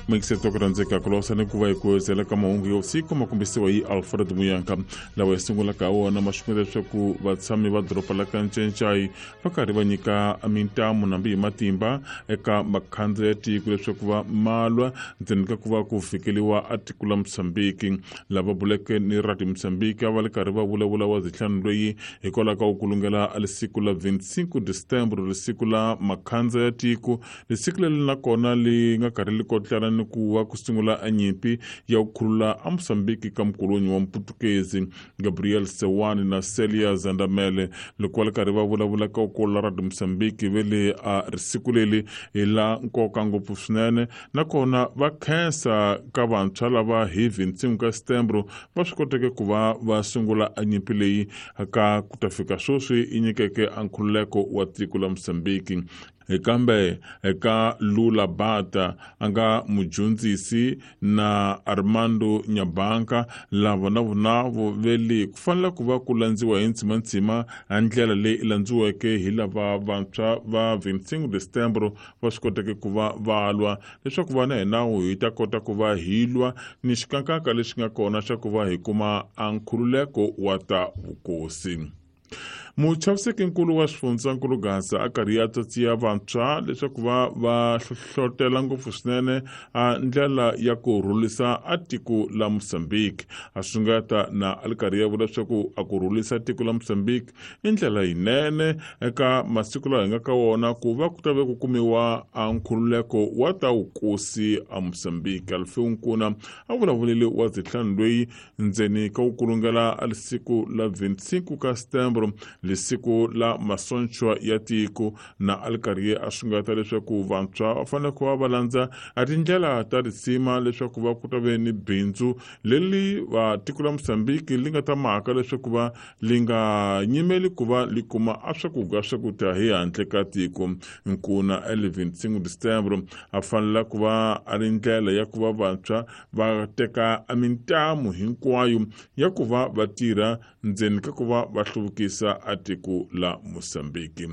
Muyingiseti wa ku rhandzeka, ku losa ni ku va hi ku zela ka mahungu ya vusiku ma kombisiwa hi Alfred Muyanka, lawa hi sungulaka ha wona ma xungeta leswaku vatshami va doroba la ka Ncencai va karhi va nyika mintamu nambi hi matimba eka makhandza ya tiko leswaku va malwa ndzeni ka ku va ku fikeliwa a tiko la Mosambiki. Lava buleke ni Radio Mosambiki a va li karhi va vulavula wa zitlhanu loyi hikwalaho ka ku kulungela a lisiku la 25 de setembro, lisiku la makhandza ya tiko, lisiku leri nakona li nga karhi li kotlana ni ku va ku sungula a nyimpi ya ku khulula a Mosambiki ka mukolonyi wa Muputukezi. Gabriel Sewani na Celia Zandamele, loko va li karhi va vulavula ka ku la Radio Mosambiki, ve le a risiku leri hi la nkoka ngopfu swinene, nakona va khensa ka vantshwa lava hi 25 ka setembro va swi koteke ku va va sungula a nyimpi leyi ka ku ta fika sweswi yi nyikeke a nkhululeko wa tiko la Mosambiki. Kambe eka Lula Bata a nga mudyondzisi na Armando Nyabanka, lava na vona vele ku fanele ku va ku landziwa hi ntsimantsima a ndlela leyi landziweke hi lava vantshwa va 25 de setembro va swi koteke ku va va lwa leswaku va na hi nawu hi ta kota ku va hi lwa ni xikankaka lexi nga kona xa ku va hi kuma a nkhululeko wa ta vukosi. Muchavisekinkulu wa xifundzankulu Gaza a karhi ya tsatsiya vantshwa leswaku va va hlohlotela ngopfu swinene a ndlela ya ku rhulisa a tiko la Mosambiki. A sungata na a li karhi ya vula leswaku a ku rhulisa tiko la Mosambiki i ndlela yinene eka masiku lawa hi nga ka wona ku va ku ta ve ku kumiwa a nkhululeko wa ta wukosi a Mosambiki. Alfeu Nkuna a vulavulile wa zitlhanu loyi ndzeni ka ku kulungela a lisiku la 25 ka setembro, lisiku la masonchwa ya tiko, na a li karhi a sungata leswaku vantshwa va fanele ku va va landza a tindlela ta risima leswaku va ku ta ve ni bindzu leri va tiko la Mosambiki li nga ta maka leswaku va li nga nyimeli ku va li kuma a swakudya swakudya hi handle ka tiko. Nkuna el 25 de setembro a fanela ku va a ri ndlela ya ku va vantshwa va teka a mintamu hinkwayo ya ku va va tirha ndzeni ka ku va va hluvukisa a tiko la Mosambiki.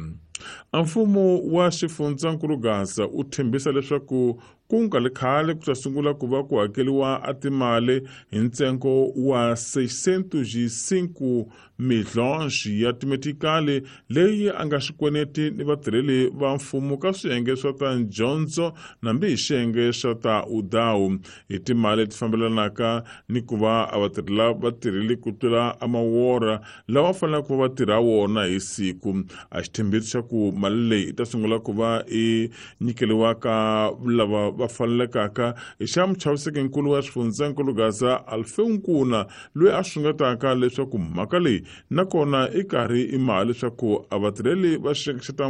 A mfumo wa xifundzankulu Gaza u tshembisa leswaku ku nga li khale ku ta sungula ku va ku hakeliwa a timali hi ntsengo wa 605 milhons ya timetikali leyi a nga xikweneti ni vatirheli va mfumo ka swiyenge swa ta dyondzo nambi hi xiyenge swa ta udawu, hi timali leti fambelanaka ni ku va a vatirhela vatirheli ku tlula a mawora lawa faneleke ku va va tirha wona hi siku. A xithembiso xa ku mali leyi yi ta sungula ku va i nyikeliwa ka lava va fanelekaka i xa muchavisekinkulu wa xifundzankulu Gaza Alfeu Nkuna, loyi a sungetaka leswaku mhaka leyi nakona i karhi i mali leswaku a vatirheli va xiyenge xa ta